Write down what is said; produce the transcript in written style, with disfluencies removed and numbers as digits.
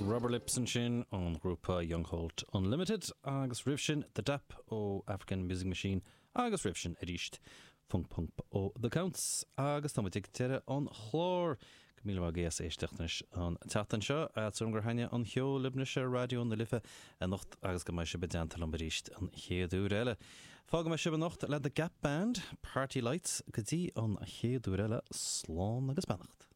Rubber Lips ansin ón ghrúpa Young Holt Unlimited agus roimh sin The Dap ó African Music Machine agus roimh sin arís Funk Pump ó The Counts. Agus tá muid ag deireadh an chláir. Go míle maith agaibh as éisteacht anois an tseachtain seo. Súil agam gur thaitnigh an ceol libh anois ar Raidió na Life anocht agus go mbeidh sibh i dteannta liom arís an chéad uair eile. Fágfaidh mé sibh anocht le The Gap Band, Party Lights. Go dtí an chéad uair eile, slán agus beannacht.